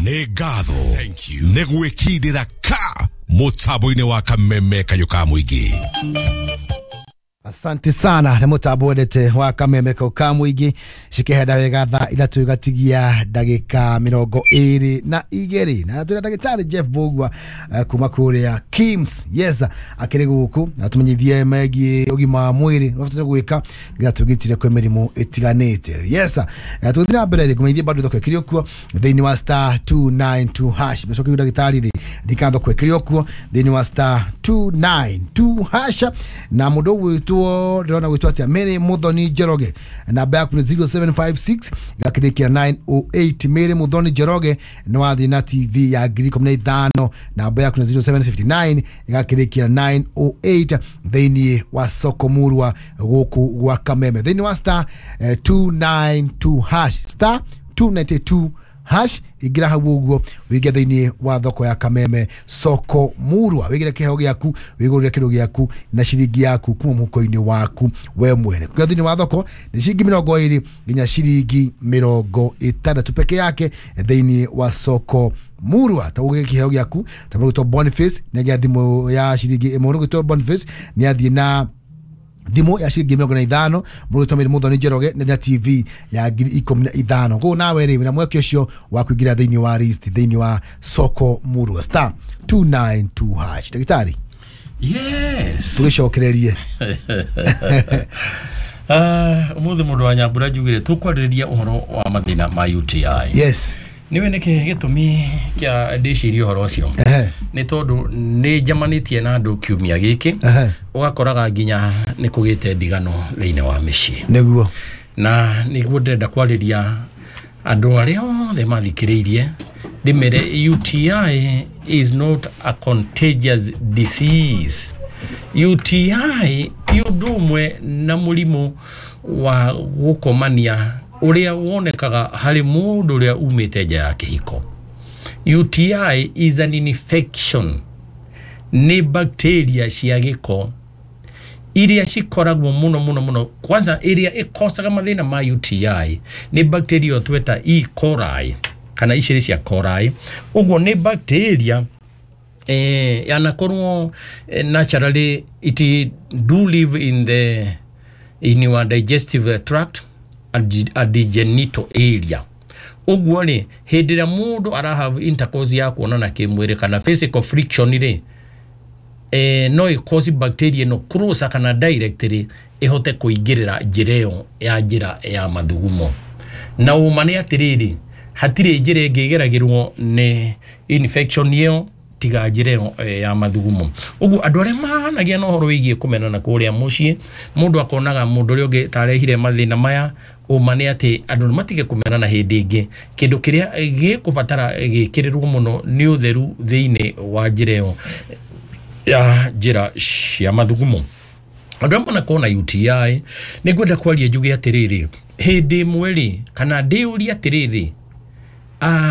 Nĩ ngatho nĩ gwĩkindĩra ka mũtambo-inĩ wa Kameme kayũ ka mũingĩ. Asante sana nä må tambo wendete wa Kameme kau ka mũingĩ. Cikĩhenda wega thaa 3 igatigia ndagĩka 22, na twĩna ndagĩtarĩ Jeff Mbũgua kuma kũrĩa KIMS. Yes, akĩrĩ gũkũ na tũmenyithie megiĩ ũgima wa mwĩrĩ ũrĩa gwĩka nĩgetha twĩgitĩre kwĩ mĩrimũ ĩtiganĩte. Yes, tũgĩthiĩ na mbere rĩ, kũmenyithie bado thoko ĩkĩrĩ okuo thĩinĩ wa *292#. Mbeca kĩu ndagĩtarĩ rĩ, ndika thoko ĩkĩrĩ okuo thĩinĩ wa *292# na mũndũ ũgwĩtwo, ndĩrona gwĩtwo atĩa, Mary Muthoni Njoroge, namba yaku nĩ 0756 igakĩrĩkia 908. Mary Muthoni Njoroge nĩ wathiĩ na TV ya 15,000, namba yaku nĩ 0759 igakĩrĩkia 908 thĩinĩ wa soko murwa gũkũ gwa Kameme thĩinĩ wa *292#, *292#. Ingĩra hau ũguo wĩingĩ thĩinĩ wa thoko ya Kameme soko murwa, wĩgĩre kĩheo gĩaku, wĩgũrĩre kĩndũ gĩaku na ciringi yaku kuma mũhuko-inĩ waku we mwene. Kũingĩra thĩinĩ wa thoko nĩ ciringi 20 nginya ciringi 60 peke yake thĩinĩ wa soko murwa. Ta ũgĩre kĩheo gĩaku ta mũgwĩtwo Boniface nĩ agĩa thimũ ya ciringi ĩmwe, mũgwĩtwo Boniface nĩ athiĩ na thimũ ya ciringi 45, mũgwĩtwo Mary Muthoni Njoroge nĩ na TV ya 15,000. Koguo nawe rĩ, wĩna mweke ũcio wa kũingĩra thĩinĩ wa list thĩinĩ wa soko murwa *292#. Ndagĩtarĩ. Yes. Tũgĩcokererie. Ũmũthĩ mũndũ wa Nyambura njugire tũkwarĩrĩria ũhoro wa mathĩna ma UTI. Yes. Nĩwe nĩkĩ gĩtũmi kĩa ndĩcirie ũhoro ũcio? Nĩ tondũ nĩ njamanĩtie na andũ kiumia gĩkĩ, ũgakoraga nginya nĩ kũgĩte ndigano thĩinĩ wa mĩciĩ. Nĩguo. Na nĩguo ndĩrenda kwarĩria andũ arĩa othe mathikĩrĩirie, ndĩmere UTI is not a contagious disease. UTI ti ũndũ ũmwe na mũrimũ wa gũkomania ũrĩa wonekaga harĩ mũndũ ũrĩa umĩte nja ya kĩhiko. UTI is an infection, nĩ bacteria cia gĩko iria cikoragwo mũno mũno mũno. Kwanza ĩrĩa ĩkocaga mathĩna ma UTI nĩ bacteria tweta E. coli kana Escherichia coli. Ũguo nĩ bacteria yanakorwo naturally it do live in your digestive tract and the genital area. Ũguo rĩ, hĩndĩ ĩrĩa mũndũ arahave intercourse ya kuonana kĩmwĩrĩ kana physical friction rĩ, no ĩcause bacteria ĩno closer kana directly ĩhote kũingĩrĩra njĩra ĩyo ya njĩra ya mathugumo. Na ũma nĩ atĩrĩrĩ, hatirĩ njĩra ĩngĩ ĩgeragĩrwo nĩ infection ĩyo tiga njĩra ĩyo ya mathugumo. Ũguo andũ arĩa mahanagia na ũhoro wĩgiĩ kũmenana kũrĩa mũciĩ, mũndũ akonaga mũndũ ũrĩa ũngĩ tarehire mathĩna maya, ũma nĩ atĩ andũ nĩ matige kũmenana hĩndĩ ĩngĩ. Kĩndũ kĩrĩa gĩkũbatara gĩkĩrĩrwo mũno nĩ ũtheru thĩinĩ wa njĩra ĩyo ya njĩra cia mathugumo. Andũ arĩa manakorwo na UTI, nĩ ngwenda kwaria njuge atĩrĩrĩ, hĩndĩ ĩmwe rĩ, kana ndĩũrie atĩrĩrĩ,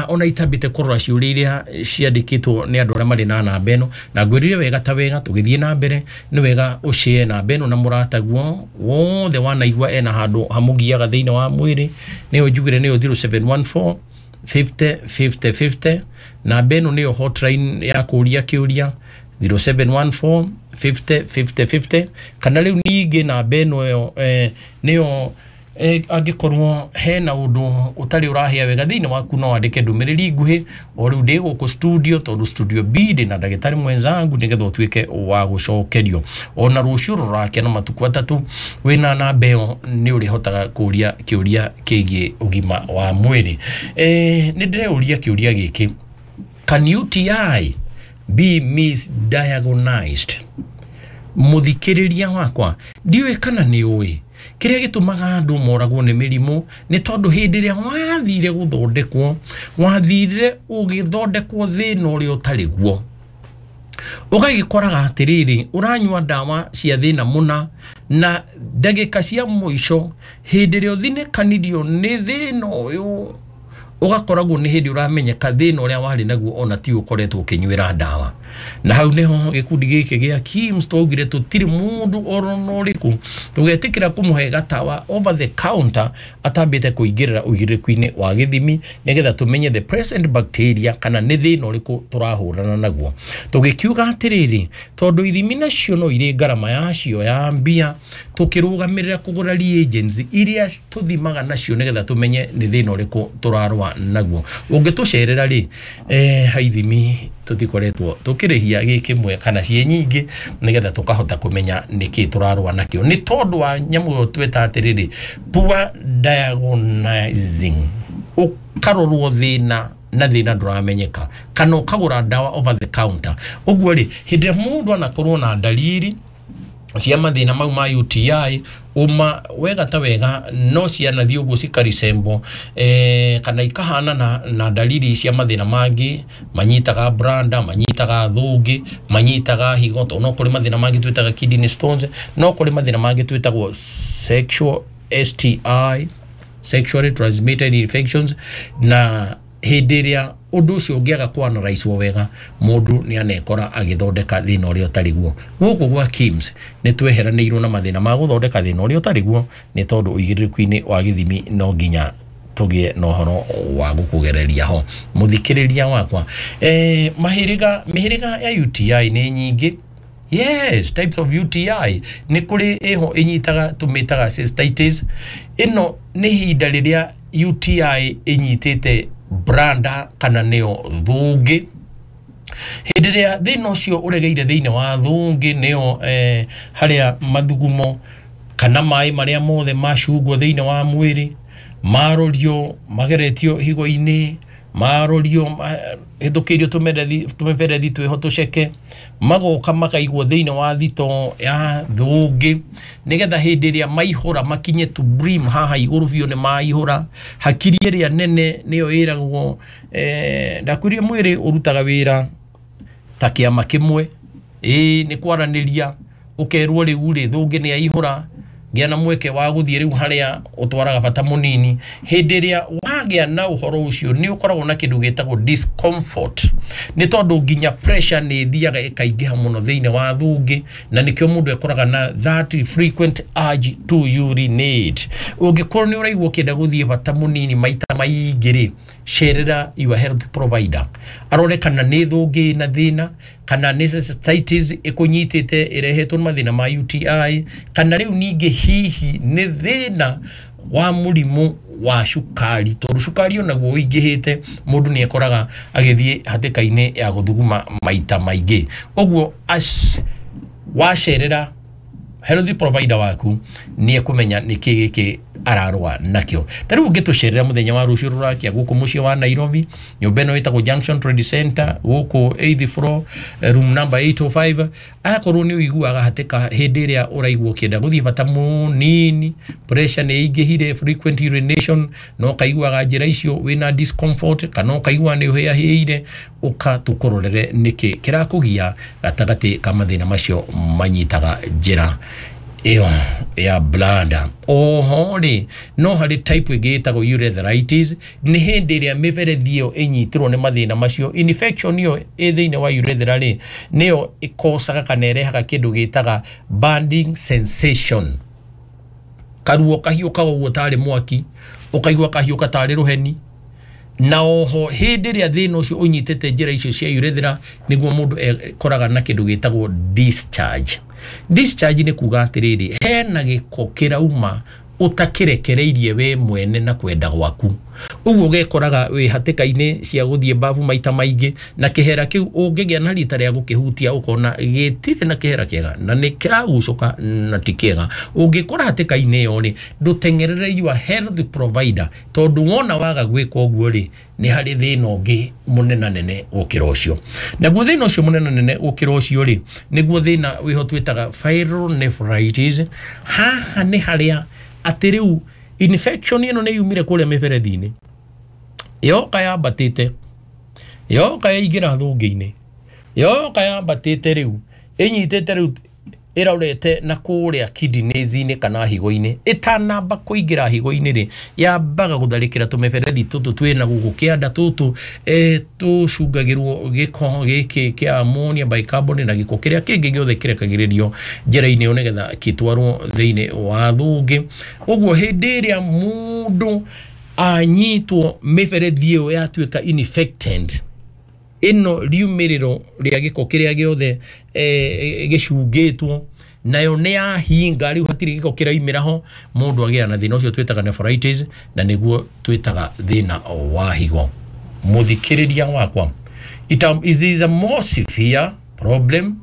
ona itambĩte kũrora ciũria iria ciandĩkĩtwo nĩ andũ arĩa marĩ na namba ĩno, na ngwĩrire wega ta wega tũgĩthiĩ na mbere, nĩ wega ũshare namba ĩno na mũrataguo wothe wanaigua ena handũ hamũgiaga thĩinĩ wa mwĩrĩ, nĩyo njugire nĩyo 0714 50 50 50. Namba ĩno nĩyo hotline ya kũria kĩũria 0714 50 50 50. Kana rĩu ningĩ namba ĩno ĩyo nĩyo angĩkorwo hena ũndũ ũtarĩ ũrahĩa wega thĩinĩ waku, no wandĩke ndũmĩrĩri nguhĩ o rĩu ndĩ gũkũ studio, tondũ studio B ndĩ na ndagĩtarĩ mwenzangu, nĩgetha ũtuĩke wa gũcokerio. Ona rũciũ rũrake na matukũ 3 wĩna namba ĩyo nĩ ũrĩhotaga kũria kĩũria kĩgiĩ ũgima wa mwĩrĩ. Nĩ ndĩreũria kĩũria gĩkĩ, can UTI be misdiagnosed? Mũthikĩrĩria wakwa, ndiũĩ kana nĩ ũĩ kĩrĩa gĩtũmaga andũ moragwo nĩ mĩrimũ nĩ tondũ hĩndĩ ĩrĩa wathire gũthondekwo, wathire ũgĩthondekwo thĩna ũrĩa ũtarĩ guo. Ũgagĩkoraga atĩrĩrĩ, ũranyua ndawa cia thĩna mũna, na ndagĩka cia mũico hĩndĩ ĩrĩa ũthinĩkanirio nĩ thĩna ũyũ Ũgakoragwo nĩ hĩndĩ ũramenyeka thĩna ũrĩa warĩ naguo ona ti ũkoretwo ũkĩnyuĩra ndawa. Na hau nĩho gĩkundi gĩkĩ gĩa KIMS twaugire tũtirĩ mũndũ oro na ũrĩkũ tũgetĩkĩra kũmũhe gatawa over the counter atambĩte kũingĩrĩra ũigĩrĩrĩku-inĩ wa gĩthimi, nĩgetha tũmenye the present bacteria kana nĩ thĩna ũrĩkũ tũrahũrana naguo. Tũgĩkiuga atĩrĩrĩ, tondũ ithimi nacio no irĩ ngarama yacio ya mbia, tũkĩrũgamĩrĩra kũgũra reagents iria tũthimaga nacio nĩgetha tũmenye nĩ thĩna ũrĩkũ tũrarũa naguo. Ũngĩtũcerera rĩ, ha ithimi tũtikoretwo tũkĩrĩhia gĩ kĩmwe kana ciĩ nyingĩ, nĩgetha tũkahota kũmenya nĩkĩ tũrarũa nakĩo. Nĩ tondũ wa nyamũ ĩyo tweta atĩrĩrĩ, poor diagnosing, ũkarorwo thĩna na thĩna ndũramenyeka, kana ũkagũra ndawa over the counter. Ũguo rĩ, hĩndĩ ĩrĩa mũndũ anakorwo na ndariri cia mathĩna mau ma UTI, uma wega ta wega no cianathiĩ ũguo cikarisembo kana ikahana na dalili cia mathĩna mangĩ manyitaga branda, manyitaga thũngĩ, manyitaga higo, tondũ no kũrĩ mathĩna mangĩ twĩtaga kidney stones, no kũrĩ mathĩna mangĩ twĩtagwo sexual STI, sexually transmitted infections. Na hĩndĩ ĩrĩa ũndũ ũcio ũngĩaga kwanaraicwo wega, mũndũ nĩ anekora agĩthondeka thĩna ũrĩa ũtarĩ guo. Gũkũ gwa KIMS nĩ tweheranĩirwo na mathĩna ma gũthondeka thĩna ũrĩa ũtarĩ guo, nĩ tondũ ũigĩrĩrĩku-inĩ wa gĩthimi no nginya tũgĩe na ũhoro wa gũkũgereria ho. Mũthikĩrĩria wakwa, mĩhĩrĩga ya UTI nĩ nyingĩ. Yes, types of UTI nĩ kũrĩ ĩho ĩnyitaga tũmĩtaga cystitis. Ĩno nĩ ihinda rĩrĩa UTI ĩnyitĩte branda kana nĩyo thũngĩ. Hĩndĩ ĩrĩa thĩna ũcio ũregeire thĩinĩ wa thũngĩ, nĩyo harĩa mathugumo kana maĩ marĩa mothe macungwo thĩinĩ wa mwĩrĩ marorio mageretio higo-inĩ, marorio hĩtũkĩirio tũmĩberethi twĩho tũceke, magoka makaigwo thĩinĩ wa thito ya thũngĩ, nĩgetha hĩndĩ ĩrĩa maihũra makinye to brim haha igũrũ biũ nĩ maihũra. Hakiri ĩrĩa nene nĩyo ĩragwo, ndakwĩrire mwĩrĩ ũrutaga wĩra ta kĩama kĩmwe, ĩĩ nĩ kwaranĩria, ũkerwo rĩu rĩ thũngĩ nĩ yaihũra, gĩa na mweke wa gũthiĩ rĩu harĩa ũtwaraga bata mũnini. Hĩndĩ ĩrĩa wagĩa na ũhoro ũcio nĩ ũkoragwo na kĩndũ gĩtagwo discomfort, nĩ tondũ nginya pressure nĩ ĩthiaga ĩkaingĩha mũno thĩinĩ wa thũngĩ, na nĩkĩo mũndũ ekoraga na that frequent urge to urinate. Ũngĩkorwo nĩ ũraigua ũkĩenda gũthiĩ bata mũnini maita maingĩ rĩ, cerera your health provider arore kana nĩ thũngĩ na thĩna, kana nĩ cystitis ĩkũnyitĩte ĩrehetwo nĩ mathĩna ma UTI, kana rĩu ningĩ hihi nĩ thĩna wa mũrimũ wa cukari, tondũ cukari onaguo ũingĩhĩte mũndũ nĩ ekoraga agĩthiĩ hatĩka-inĩ ya gũthuguma maita maingĩ. Ũguo wacerera health provider waku nĩ ekũmenya nĩkĩ gĩkĩ ararũa nakĩo. Ta rĩu ũngĩtũcerera mũthenya wa rũciũ rũrakia gũkũ mũciĩ wa Nairobi, nyũmba ĩno ĩtagwo Junction Trade Center, gũkũ 8th floor, room number 805, akorwo nĩ ũiguaga hatĩka hĩndĩ ĩrĩa ũraigua ũkĩenda gũthiĩ bata mũnini, pressure nĩ ĩingĩhire, frequent urination, na ũkaiguaga njĩra icio wĩna discomfort, kana ũkaigua nĩ ũhĩahĩire, ũka tũkũrorere nĩkĩ kĩrakũgia gatagatĩ ka mathĩna macio manyitaga njĩra ĩyo ya bladder. Oho rĩ, no harĩ type ĩngĩ ĩtagwo urethritis, nĩ hĩndĩ ĩrĩa mĩberethi ĩyo ĩnyitirwo nĩ mathĩna macio. Infection ĩyo ĩ thĩinĩ wa urethra rĩ, nĩyo ĩkocaga kana ĩrehaga kĩndũ gĩtaga burning sensation, karuo kahiũkaga ũguo tarĩ mwaki, ũkaigua kahiũka tarĩ rũheni. Na oho hĩndĩ ĩrĩa thĩna ũcio ũnyitĩte njĩra icio cia urethra, nĩguo mũndũ ekoraga na kĩndũ gĩtagwo discharge. Discharge nĩ kuga atĩrĩrĩ, hena gĩko kĩrauma ũtakĩrekereirie we mwene na kwenda gwaku, ũguo ũgekoraga wĩ hatĩka-inĩ cia gũthiĩ babu maita maingĩ, na kĩhera kĩu ũngĩgĩa na rita rĩa gũkĩhutia ũkona gĩtirĩ na kĩhera kĩega na nĩ kĩragucũka na ti kĩega. Ũngĩkora hatĩka-inĩ ĩyo rĩ, ndũteng'erere your health provider, tondũ wona waga gwĩka ũguo rĩ, nĩ harĩ thĩna ũngĩ mũnenanene gũkĩra ũcio. Naguo thĩna ũcio mũnenanene gũkĩra ũcio rĩ, nĩguo thĩna wĩho twĩtaga pyelonephritis. Haha nĩ harĩa atĩ rĩu infection ĩno nĩ yumire kũrĩa mĩberethi-inĩ, yoka yambatĩte, yoka yaingĩra thũngĩ-inĩ, yoka yambatĩte rĩu ĩnyitĩte rĩu ĩrorete na kũrĩa kidneys-inĩ kana higo-inĩ. Ĩtanamba kũingĩra higo-inĩ rĩ, yambaga gũtharĩkĩra tũmĩberethi tũtũ twĩna gũkũ kĩanda tũtũ tũcungagĩrwo gĩko gĩkĩ kĩa ammonia, bicarbonate na gĩko kĩrĩa kĩngĩ gĩothe kĩrekagĩrĩrio njĩra-inĩ ĩyo nĩgetha gĩtwarwo thĩinĩ wa thũngĩ. Ũguo hĩndĩ ĩrĩa mũndũ anyitwo mĩberethi ĩyo yatuĩka infected, ĩno riumĩrĩro rĩa gĩko kĩrĩa gĩothe gĩcungĩtwo nayo nĩ yahinga, rĩu hatirĩ gĩko kĩraumĩra ho, mũndũ agĩa na thĩna ũcio twĩtaga nephritis, na nĩguo twĩtaga thĩna wa higo. Mũthikĩrĩria wakwa, it is a more severe problem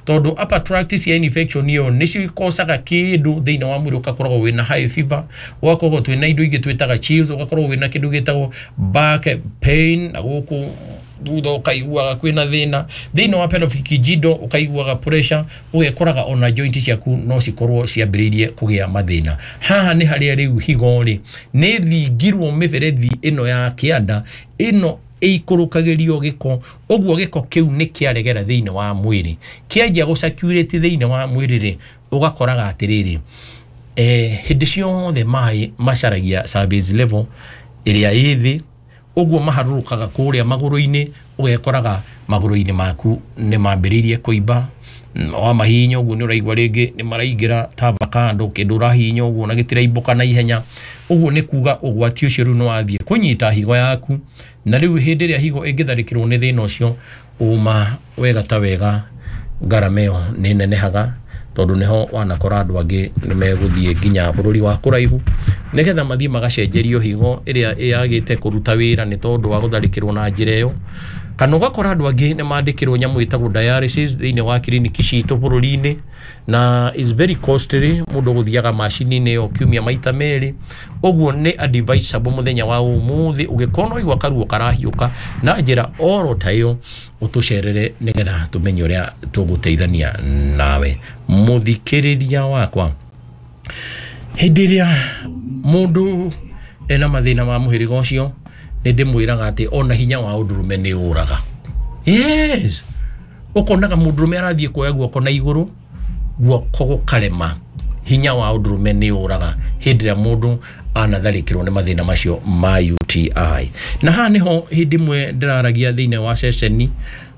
tondũ upper tract cia infection ĩyo nĩcio ikocaga kĩndũ thĩinĩ wa mwĩrĩ, ũgakoragwo wĩna high fever, ũgakorwo twĩna indo ingĩ twĩtaga chills, ũgakorwo wĩna kĩndũ gĩtagwo back pain, na gũkũ thutha ũkaiguaga kwĩna thĩna thĩinĩ wa pelvic girdle, ũkaiguaga pressure, ũgekoraga ona joint ciaku no cikorwo ciambĩrĩirie kũgĩa mathĩna. Haha nĩ harĩa rĩu higo rĩ nĩ thingirwo mĩberethi ĩno ya kĩanda ĩno ĩikũrũkagĩrio gĩko, ũguo gĩko kĩu nĩ kĩaregera thĩinĩ wa mwĩrĩ, kĩanjia gũcirculate thĩinĩ wa mwĩrĩ rĩ, ũgakoraga atĩrĩrĩ, hĩndĩ ciothe maĩ macaragia service level ĩrĩa ĩ thĩ, ũguo maharũrũkaga kũrĩa magũrũ-inĩ, ũgekoraga magũrũ-inĩ maku nĩ mambĩrĩirie kũimba, wa mahihinya ũguo nĩ ũraigua rĩngĩ nĩ maraingĩra ta avocado, kĩndũ ũrahihinya ũguo na gĩtiraimbũka na ihenya. Ũguo nĩ kuga ũgwati ũcio rĩu nĩ wathiĩ kũnyita higo yaku, na rĩu hĩndĩ ĩrĩa higo ĩngĩtharĩkĩrwo nĩ thĩna ũcio, ũma wega ta wega ngarama ĩyo nĩ nenehaga, tondũ nĩho wanakora andũ angĩ nĩ megũthiĩ nginya bũrũri wa kũraihu nĩgetha mathiĩ magacenjerio higo ĩrĩa yagĩte kũruta wĩra nĩ tondũ wa gũtharĩkĩrwo na njĩra ĩyo. Kana ũgakora andũ angĩ nĩ mandĩkĩrwo nyamũ ĩtagwo dialysis thĩinĩ wa kiriniki citũ bũrũri-inĩ, na is very costly, mũndũ gũthiaga macini-inĩ ĩyo kiumia maita merĩ. Ũguo nĩ advisable mũthenya wa ũmũthĩ ũngĩkorwo no waigua karuo karahiũka na njĩra oro ta ĩyo, ũtũcerere nĩgetha tũmenye ũrĩa tũgũteithania nawe. Mũthikĩrĩria wakwa, hĩndĩ ĩrĩa mũndũ ena mathĩna ma mũhĩrĩga ũcio, nĩ ndĩmwĩraga atĩ ona hinya wa ũndũrũme nĩ ũraga. Yes, ũkonaga mũndũrũme arathiĩ kuoya guoko na igũrũ, guoko gũkarema. Hinya wa ũndũrũme nĩ ũraga hĩndĩ ĩrĩa mũndũ anatharĩkĩrwo nĩ mathĩna macio ma UTI. Na haha nĩho hĩndĩ ĩmwe ndĩraragia thĩinĩ wa ceceni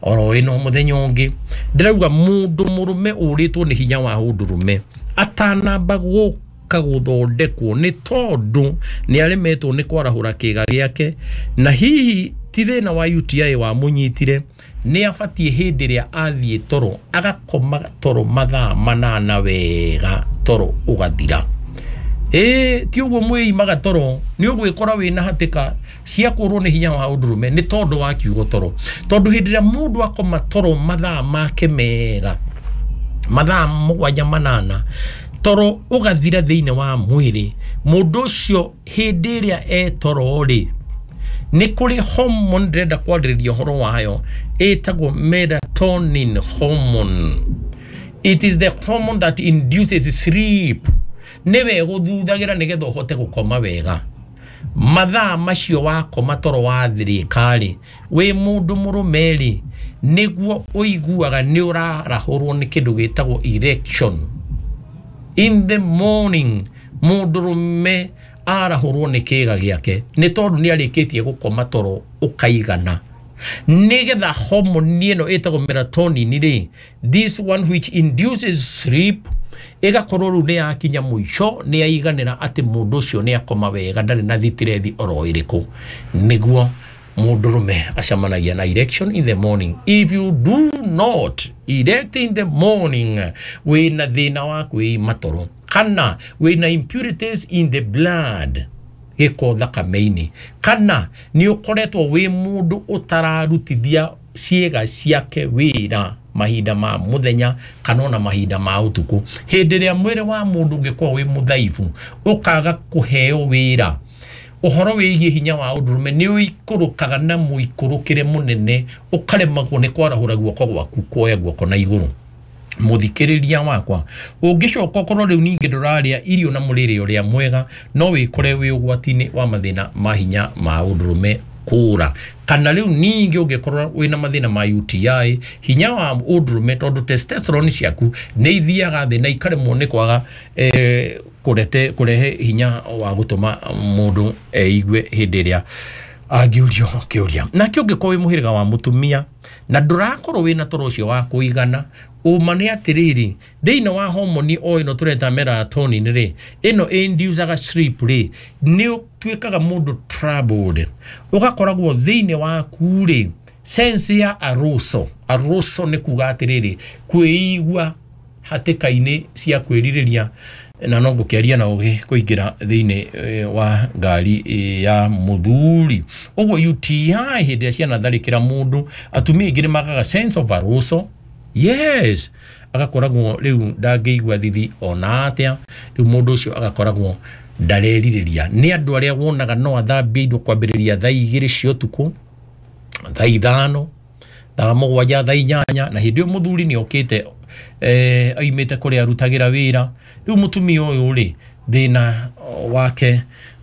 oro ĩno mũthenya ũngĩ, ndĩrauga mũndũ mũrũme ũrĩtwo nĩ hinya wa ũndũrũme atanamba gũka gũthondekwo nĩ tondũ nĩ aremetwo nĩ kwarahũra kĩga gĩake, na hihi ti thĩna wa UTI wamũnyitire, nĩ abatiĩ hĩndĩ ĩrĩa athiĩ toro agakoma toro mathaa 8 wega, toro ũgathira. Ti ũguo mwĩimaga toro, nĩ ũgwĩkora wĩna hatĩka cia kũrwo nĩ hinya wa ũndũrũme nĩ tondũ wa kiugo toro. Tondũ hĩndĩ ĩrĩa mũndũ akoma toro mathaa make mega, mathaa 7 8, toro ũgathira thĩinĩ wa mwĩrĩ, mũndũ ũcio hĩndĩ ĩrĩa e toro rĩ, nĩ kũrĩ hormone ndĩrenda kwarĩrĩria ũhoro wayo ĩtagwo melatonin hormone. It is the hormone that induces sleep. Nĩwe gũthuthagira nĩgetha ũhote gũkoma wega. Mathaa macio wakoma toro wathirĩka rĩ, wĩ mũndũ mũrũme rĩ, nĩguo ũiguaga nĩ ũrarahũrwo nĩ kĩndũ gĩtagwo erection. In the morning mũndũrũme arahũrwo nĩ kĩga gĩake nĩ tondũ nĩ arĩkĩtie gũkoma toro ũkaigana. Nĩgetha hormone ĩno ĩtagwo melatonin rĩ, this one which induces sleep, ĩgakorwo rĩu nĩ yakinya mũico, nĩ yaiganĩra atĩ mũndũ ũcio nĩ akoma wega, ndarĩ na thitirethi oro ĩrĩkũ, nĩguo mũndũrũme acemanagia na erection in the morning. If you do not erect in the morning, wĩna thĩna wa kwĩima toro kana wĩna impurities in the blood, gĩko thakame-inĩ, kana nĩ ũkoretwo wĩ mũndũ ũtararutithia ciĩga ciake wĩra mahinda ma mũthenya kana ona mahinda ma ũtukũ. Hĩndĩ ĩrĩa mwĩrĩ wa mũndũ ũngĩkorwo wĩ mũthaifu, ũkaga kũheo wĩra, ũhoro wĩgiĩ hinya wa ũndũrũme nĩ ũikũrũkaga na mũikũrũkĩre mũnene, ũkaremagwo nĩ kwarahũra guoko gwaku kuoya guoko na igũrũ. Mũthikĩrĩria wakwa, ũngĩcoka ũkorwo rĩu ningĩ ndũrarĩa irio na mũrĩre ũrĩa mwega, no wĩkore wĩ ũgwati-inĩ wa mathĩna ma hinya ma ũndũrũme. kũra. Kana rĩu ningĩ ũngĩkorwo wĩna mathĩna ma UTI, hinya wa ũndũrũme, tondũ testosterone ciaku nĩ ithiaga thĩ na ikaremwo nĩ kwaga kũrehe hinya wa gũtũma mũndũ eigue hĩndĩ ĩrĩa angĩũrio kĩũria. Nake ũngĩkorwo wĩ mũhĩrĩga wa mũtumia na ndũrakorwo wĩna toro ũcio wa kũigana, ũma nĩ atĩrĩrĩ, thĩinĩ wa homoni o ĩno tũreta melatonin rĩ, ĩno inducaga sleep rĩ, nĩ ũtuĩkaga mũndũ troubled, ũgakoragwo thĩinĩ waku rĩ sense ya arousal. Arousal nĩ kuga atĩrĩrĩ, kwĩigua hatĩka-inĩ cia kwĩrirĩria, na no ngũkĩaria na ũgĩ kũingĩra thĩinĩ wa ngari ya mũthuri. Ũguo UTI hĩndĩ ĩrĩa cianatharĩkĩra mũndũ, atumia aingĩ nĩ magaga sense of arousal. Yes, agakoragwo rĩu ndangĩigua thithi ona atĩa, rĩu mũndũ ũcio agakoragwo ndarerirĩria. Nĩ andũ arĩa wonaga no athambie indo kwambĩrĩria thaa 2 cia ũtukũ, thaa 5, thaa 7, thaa 8, na hĩndĩ ĩyo mũthuri nĩ okĩte aimĩte kũrĩa arutagĩra wĩra. Rĩu mũtumia ũyũ rĩ, thĩna wake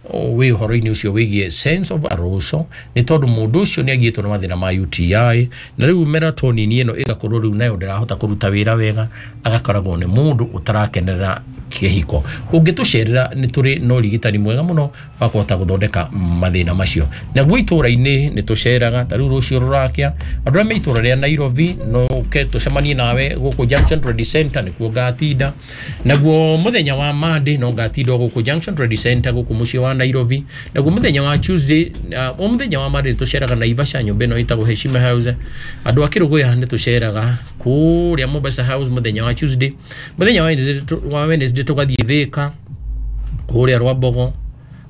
wĩ ũhoro-inĩ ũcio wĩgiĩ sense of arousal, nĩ tondũ mũndũ ũcio nĩ agiĩtwo nĩ mathĩna ma UTI, na rĩu melatonin ĩno ĩgakorwo rĩu nayo ndĩrahota kũruta wĩra wega, agakoragwo nĩ mũndũ ũtarakenerera kĩhiko. Ũngĩtũcerera nĩ tũrĩ na ũrigitani mwega mũno wa kũhota gũthondeka mathĩna macio. Naguo itũra-inĩ nĩ tũceraga, ta rĩu rũciũ rũrakĩa, andũ arĩa me itũra rĩa Nairobi no ũke tũcemanie nawe gũkũ Junction Trade Center, nĩkuo ngatinda. Naguo mũthenya wa Monday no ngatinda gũkũ Junction Trade Center gũkũ mũciĩ wa Nairobi. Naguo mũthenya wa Tuesday, o mũthenya wa Monday tũceraga Naivasha, nyũmba ĩno ĩtagwo Heshima House. Andũ a Kĩrũgũya nĩ tũceraga kũrĩa Mombasa House mũthenya wa Tuesday. Mũthenya wa Wednesday tũgathiĩ Thĩka kũrĩa Rwambogo,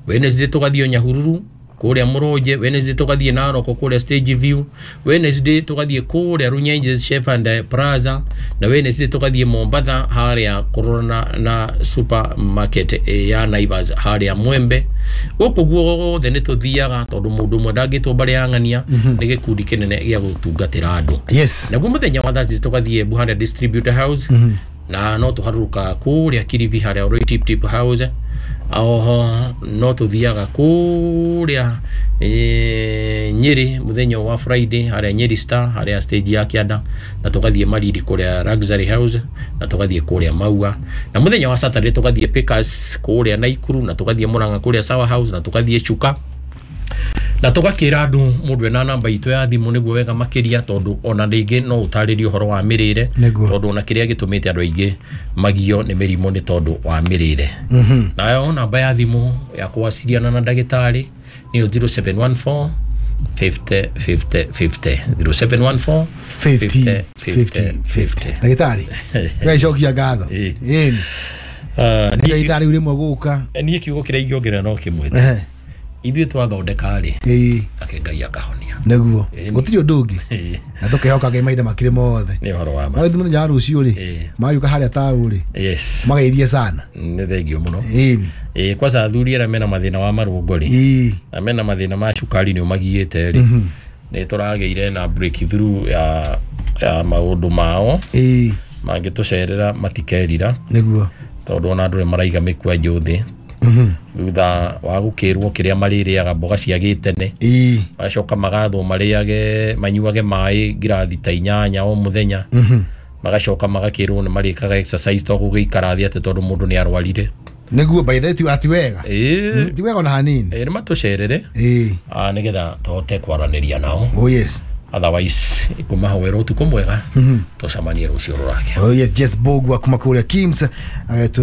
Wednesday tũgathiĩ Nyahururu kũrĩa Mũrũnje, Wednesday tũgathiĩ Narok kũrĩa Stage View, Wednesday tũgathiĩ kũrĩa Runyenjes Chef and Plaza, na Wednesday tũgathiĩ Mombatha harĩa kũrorana na supermarket ya Naivas harĩa Mwembe. Gũkũ guothe nĩ tũthiaga tondũ mũndũ ũmwe ndangĩtwo mbarĩ ya ng'ania, nĩ gĩkundi kĩnene gĩa gũtungatĩra andũ. Yes. Naguo mũthenya wa Thursday tũgathiĩ Buhanda Distributor House, na no tũharũrũka kũrĩa Kilifi harĩa Oroi Tip Tip House. Oho no tũthiaga kũrĩa Nyeri mũthenya wa Friday harĩa Nyeri Star harĩa stage ya Kĩanda, na tũgathiĩ Maridi kũrĩa Luxury House, na tũgathiĩ kũrĩa Maua. Na mũthenya wa Saturday tũgathiĩ Pickers kũrĩa Naikuru, na tũgathiĩ Murang'a kũrĩa Sawa House, na tũgathiĩ Chuka. Na tũgakĩra andũ mũndũ ena namba itũ ya thimũ nĩguo wega makĩria, tondũ ona rĩngĩ no ũtarĩrie ũhoro wa mĩrĩre, tondũ ona kĩrĩa gĩtũmĩte andũ aingĩ magio nĩ mĩrimũ nĩ tondũ wa mĩrĩre. Nayo namba ya thimũ ya kũwaciriana na ndagĩtarĩ nĩyo 0714 50 50 50, 0714 50 50 50. Ndagĩtarĩ, tũgagĩcokia ngatho. Ĩni nĩ ithaa rĩu rĩmwe gũka. Niĩ kiugo kĩrĩa ingĩongerera no kĩmwe, ithuĩ twathondeka rĩ, ake Ngai akahonia. Nĩguo gũtirĩ ũndũ ũngĩ, na tũkehoka Ngai mahinda makĩrĩ mothe. Nĩ ũhoro wa ma. Mũthenya wa rũciũ rĩ, magĩũka harĩa taũ rĩ, mageithie sana. Nĩ thengio mũno. Ĩni. Kwanza athuri arĩa mena mathĩna wa marũngo rĩ, na mena mathĩna ma cukari nĩ ũmagiĩte rĩ, nĩ tũragĩire na breakthrough ya maũndũ mao. Mangĩtũcerera matikerira. Nĩguo. Tondũ ona andũ nĩ maraiga mĩkwanjũ thĩ. Thutha wa gũkĩrwo kĩrĩa marĩrĩaga mboga cia gĩtene, magacoka magathwo marĩage manyuage maĩ ngirathi ta 8 o mũthenya, magacoka magakĩrwo nĩ marĩkaga exercise to gũgĩikara thĩ atĩ tondũ mũndũ nĩ arwarire. Nĩguo, by the way, ti wega. Ti wega ona hanini. Nĩ matũcerere nĩgetha tũhote kwaranĩria nao. Oh yes. Otherwise ikumahoera ũtukũ mwega, tũcemanie rũciũ rũrake. Oh yes, Jess Bogwa kuma kũrĩa Kims,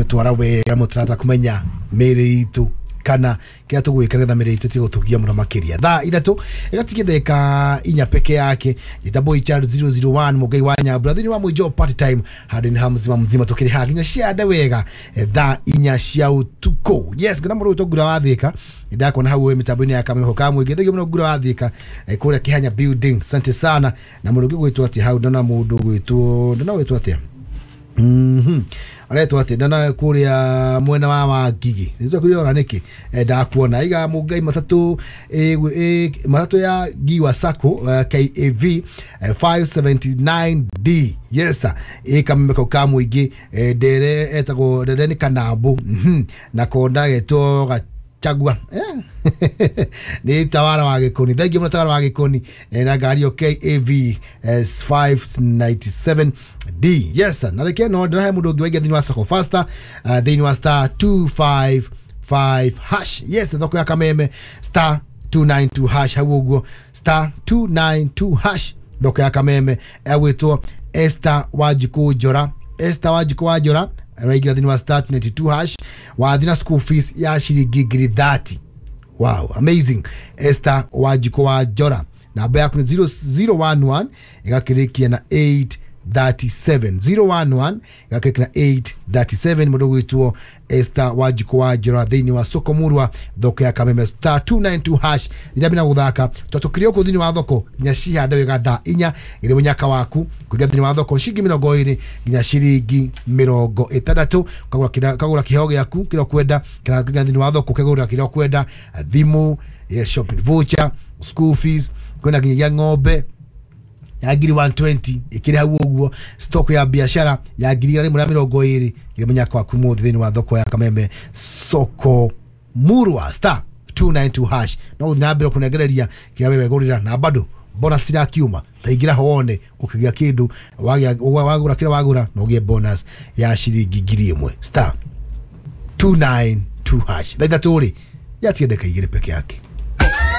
twara wega mũtarata kũmenya mĩĩrĩ itũ kana kĩrĩa tũgwĩka nĩgetha mĩĩrĩ itũ ĩtige gũtũgia mũno makĩria. Thaa 3 ĩgatigia ndagĩka 4 peke yake. Njĩta Boy Child 001 Mũngai wa Nyambura thĩinĩ wa Mũijo Party Time handũ-inĩ ha mzima mzima tũkĩrĩ haha nginya ciande wega thaa 4 cia ũtukũ. Yes, ngona mũndũ ũgwĩtwo Ngura wa Thĩka, ndakuona hau mĩtambo-inĩ ya Kameme ka mũingĩ. Thengio mũno Ngura wa Thĩka kũrĩa Kĩhanya building, asante sana. Na mũndũ ũngĩ ũgwĩtwo atĩa hau, ndona mũndũ ũgwĩtwo, ndona ũgwĩtwo atĩa? Aretwo atĩ ndona kũrĩa mwena wa Wangigĩ, nĩtwakwĩrora ona nĩkĩ ndakuona iga Mũngai matatũ matatũ ya Giwa Sacco KAV 579D. Yes sir, Kameme kau ka mũingĩ, ndere etagwo ndere nĩ Kanambu, na konda getwo Gachagua. Nĩ tawara wa Gĩkũni. Thengiũ mũno tawara wa Gĩkũni na ngari ĩyo KAV 597 D. Yes, na reke no ndĩrahe mũndũ ũngĩ waingĩ thĩinĩ wa soko faster, thĩinĩ wa star 255 hash. Yes, thoko ya Kameme, star 292 hash, hau ũguo, star 292 hash, thoko ya Kameme. Egwĩtwo Esther Wanjikũ Njora. Esther Wanjikũ wa Njora araingĩra thĩinĩ wa star 22 hash, wathi na school fees ya ciringi 30,000. Wow, amazing. Esther Wanjikũ wa Njora, namba yaku nĩ 011 ĩgakĩrĩkia na 837, 011 ĩgakĩrĩkia na 837. Mũndũ gwĩtwo Esther Wanjikũ wa Njora thĩinĩ wa soko murwa, thoko ya Kameme, star 292 hash. Rĩrĩa bina gũthaka tũkĩrĩ ũkũ thĩinĩ wa thoko nginya cihande wega thaa 4 ĩrĩ mũnyaka waku kũingĩra thĩinĩ wa thoko ciringi 20 nginya ciringi 60, kagũra kĩheo gĩaku kĩrĩa ũkwenda, kana kũingĩra thĩinĩ wa thoko ũkegũrĩra kĩrĩa ũkwenda, thimũ, shopping voucher, school fees, kwĩna nginyagia ng'ombe ya ngiri 120 ikiri hau ũguo, stock ya biashara ya 120,000 ĩrĩ mũnyaka waku mũthĩ thĩinĩ wa thoko ya Kameme, soko murwa, star 292 hash. No gũthiĩ na mbere kũnengereria kĩrĩa we wegũrĩra, na bado bonus irakiuma, taingĩra ho wone ũkĩgĩa kĩndũ, wagũra kĩrĩa wagũra na ũgĩe bonus ya ciringi 1,000, star 292 hash. Thaa 3 rĩ yatiga ndagĩka 2 peke yake.